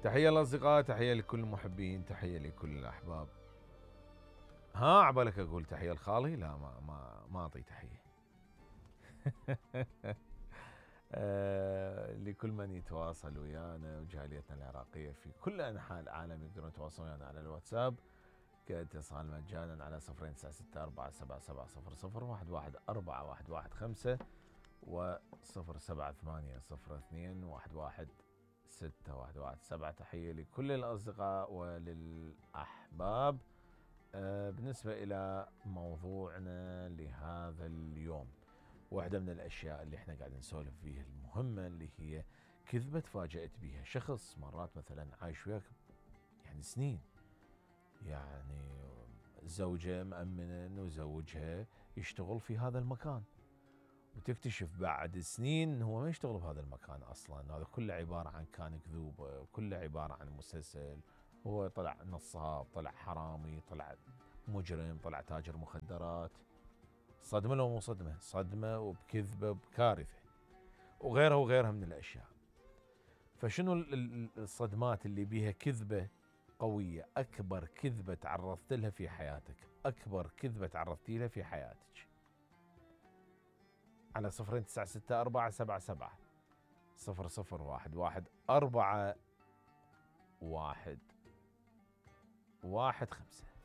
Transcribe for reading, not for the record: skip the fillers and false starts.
تحية للأصدقاء، تحية لكل المحبين، تحية لكل الأحباب. ها عبالك أقول تحية لخالي؟ لا، ما أعطي تحية. لكل من يتواصل ويانا وجاليتنا العراقية في كل أنحاء العالم يقدرون يتواصلون ويانا على الواتساب كاتصال مجانا على 09647700111415 و 0780202117. تحية لكل الأصدقاء وللأحباب. بالنسبة إلى موضوعنا لهذا اليوم، واحدة من الأشياء اللي احنا قاعدين نسولف فيها المهمة اللي هي كذبة تفاجأت بها شخص مرات مثلا عايش وياك يعني سنين، يعني زوجة مأمنة انه زوجها يشتغل في هذا المكان، وتكتشف بعد سنين هو ما يشتغل بهذا المكان اصلا، هذا كله عبارة عن كان كذوبة، كله عبارة عن مسلسل، هو طلع نصاب، طلع حرامي، طلع مجرم، طلع تاجر مخدرات. صدمة لو مو صدمة؟ صدمة وبكذبة وبكارثة وغيرها وغيرها من الأشياء. فشنو الصدمات اللي بيها كذبة قوية؟ أكبر كذبة تعرضت لها في حياتك، أكبر كذبة تعرضتي لها في حياتك، على 096477001115.